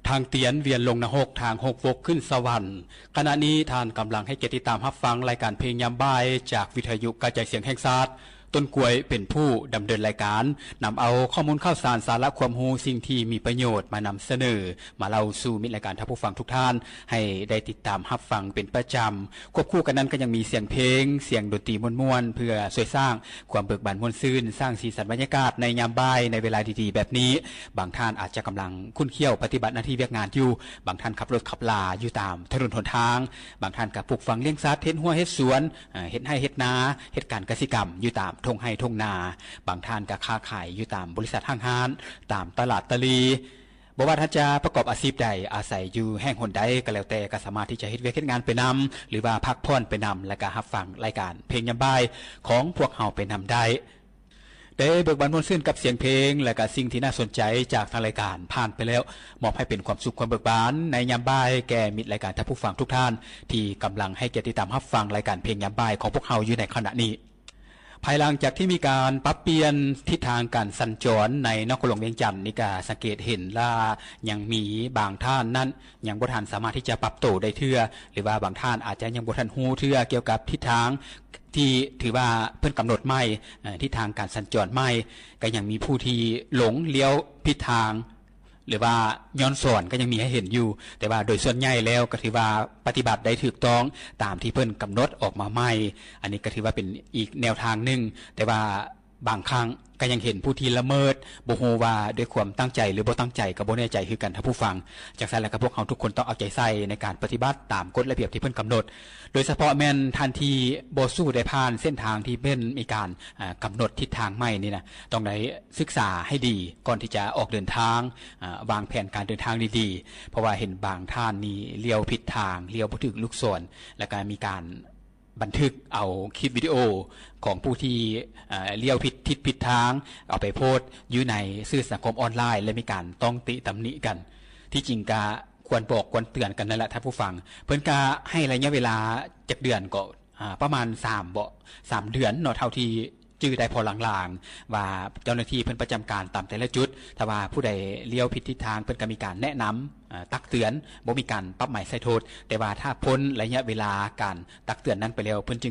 ທາງຕຽນວຽນລົງນະຮົກ ທາງຫົກວົກຂຶ້ນສະຫວັນ. ຂະນະນີ້ທ່ານກຳລັງໃຫ້ກຽດຕິດຕາມຮັບຟັງລາຍການເພງຍາມບ່າຍ ຈາກວິທະຍຸກະຈາຍສຽງແຫ່ງຊາດ ຕົ້ນກວຍເປັນຜູ້ດຳເນີນລາຍການ, ນຳເອົາຂໍ້ມູນຂ່າວສານ, ສາລະຄວາມຮູ້, ສິ່ງທີ່ມີປະໂຫຍດມານຳສະເໜີ, ມາເລົ່າສູ່ມິດລາຍການທ່ານຜູ້ຟັງທຸກທ່ານ ໃຫ້ໄດ້ຕິດຕາມຮັບຟັງເປັນປະຈຳ. ຄວບຄູ່ກັນນັ້ນກໍຍັງມີສຽງເພງ, ສຽງດົນຕີມ່ວນໆ ເພື່ອຊ່ວຍສ້າງຄວາມເບີກບານມ່ວນຊື່ນ, ສ້າງສີສັນບັນຍາກາດໃນຍາມບ່າຍໃນເວລາດີໆແບບນີ້. ບາງທ່ານອາດຈະກຳລັງຂຸ້ນຂ້ຽວປະຕິບັດໜ້າທີ່ວຽກງານຢູ່, ບາງທ່ານຂັບລົດຂັບລາຢູ່ຕາມຖະໜົນຫົນທາງ, ບາງທ່ານກໍປູກຝັງລ້ຽງສັດ, ເຮັດຮົ້ວເຮັດສວນ, ເອີ ເຮັດໄຮ່ເຮັດນາ, ເຮັດການກະສິກຳຢູ່ຕາມທົ່ງໄຮ່ທົ່ງນາ, ບາງທ່ານກໍຄ້າຂາຍຢູ່ຕາມບໍລິສັດຫ້າງຮ້ານ, ຕາມຕະຫຼາດຕະຫຼີ່. ບໍ່ວ່າທ່ານຈະປະກອບອາຊີບໃດ, ອາໄສຢູ່ແຫ່ງຫົນໃດກໍແລ້ວແຕ່, ກໍສາມາດທີ່ຈະເຮັດວຽກເຮັດງານໄປນຳ ຫຼືວ່າພັກຜ່ອນໄປນຳ, ແລະກະຮັບຟັງລາຍການເພງຍາມບ່າຍຂອງພວກເຮົາໄປນຳໄດ້. ໄດ້ເບີກບານມ່ວນຊື່ນກັບສຽງເພງ ແລະກະສິ່ງທີ່ໜ້າສົນໃຈຈາກທາງລາຍການຜ່ານໄປແລ້ວ, ມອບໃຫ້ເປັນຄວາມສຸກຄວາມເບີກບານໃນຍາມບ່າຍແກ່ມິດລາຍການທ່ານຜູ້ຟັງທຸກທ່ານ ທີ່ກຳລັງໃຫ້ກຽດຕິດຕາມຮັບຟັງລາຍການເພງຍາມບ່າຍຂອງພວກເຮົາຢູ່ໃນຂະນະນີ້. ພາຍຫຼັງຈາກທີ່ມີການປັບປ່ຽນທິດທາງການສັນຈອນໃນນະຄອນຫຼວງວຽງຈັນນີ້, ກໍສັງເກດເຫັນວ່າຍັງມີບາງທ່ານນັ້ນຍັງບໍ່ທັນສາມາດທີ່ຈະປັບໂຕໄດ້ເທື່ອ, ຫຼືວ່າບາງທ່ານອາດຈະຍັງບໍ່ທັນຮູ້ເທື່ອກ່ຽວກັບທິດທາງທີ່ຖືວ່າເພິ່ນກຳນົດໃໝ່, ເອີ ທິດທາງການສັນຈອນໃໝ່, ກໍຍັງມີຜູ້ທີ່ຫຼົງລ້ຽວຜິດທາງ ຫຼືວ່າຍ້ອນສອນກໍຍັງມີໃຫ້ເຫັນຢູ່, ແຕ່ວ່າໂດຍສ່ວນໃຫຍ່ແລ້ວກໍຖືວ່າປະຕິບັດໄດ້ຖືກຕ້ອງຕາມທີ່ເພິ່ນກຳນົດອອກມາໃໝ່. ອັນນີ້ກໍຖືວ່າເປັນອີກແນວທາງໜຶ່ງ, ແຕ່ວ່າບາງຄັ້ງກໍຍັງເຫັນຜູ້ທີ່ລະເມີດ, ບໍ່ຮູ້ວ່າດ້ວຍຄວາມຕັ້ງໃຈ ຫຼື ບໍ່ຕັ້ງໃຈ, ກໍບໍ່ແນ່ໃຈຄືກັນທ່ານຜູ້ຟັງ. ຈັ່ງຊັ້ນແລ້ວກໍພວກເຮົາທຸກຄົນຕ້ອງເອົາໃຈໃສ່ໃນການປະຕິບັດຕາມກົດລະບຽບທີ່ເພິ່ນກຳນົດ, ໂດຍສະເພາະແມ່ນທ່ານທີ່ບໍ່ສູ້ໄດ້ຜ່ານເສັ້ນທາງທີ່ເພິ່ນມີການ ອາ ກຳນົດທິດທາງໃໝ່ນີ້ນະ, ຕ້ອງໄດ້ສຶກສາໃຫ້ດີກ່ອນທີ່ຈະອອກເດີນທາງ, ອາ ວາງແຜນການເດີນທາງດີໆ, ເພາະວ່າເຫັນບາງທ່ານນີ້ລ້ຽວຜິດທາງ, ລ້ຽວບໍ່ຖືກລູກສອນ, ແລ້ວກໍມີການບັນທຶກເອົາຄລິບວິດີໂອຂອງຜູ້ທີ່ ອາ ລ້ຽວຜິດທິດຜິດທາງ ເອົາໄປໂພສຢູ່ໃນສື່ສັງຄົມອອນລາຍ ແລະ ມີການຕ້ອງຕິຕຳໜິກັນ. ທີ່ຈິງກະຄວນບອກຄວນເຕືອນກັນນັ້ນແຫຼະທ່ານຜູ້ຟັງ, ເພິ່ນກະໃຫ້ໄລຍະເວລາຈັກເດືອນກໍ ອາ ປະມານສາມເບາະ ສາມເດືອນເນາະ ເທົ່າທີ່ຈື່ໄດ້ພໍລາງໆ ວ່າເຈົ້າໜ້າທີ່ເພິ່ນປະຈຳການຕາມແຕ່ລະຈຸດ, ຖ້າວ່າຜູ້ໃດລ້ຽວຜິດທິດທາງ ເພິ່ນກໍມີການແນະນຳ ອາ ຕັກເຕືອນ, ບໍ່ມີການປັບໃໝໃສ່ໂທດ, ແຕ່ວ່າຖ້າພົ້ນໄລຍະເວລາການຕັກເຕືອນນັ້ນໄປແລ້ວ ເພິ່ນຈຶ່ງ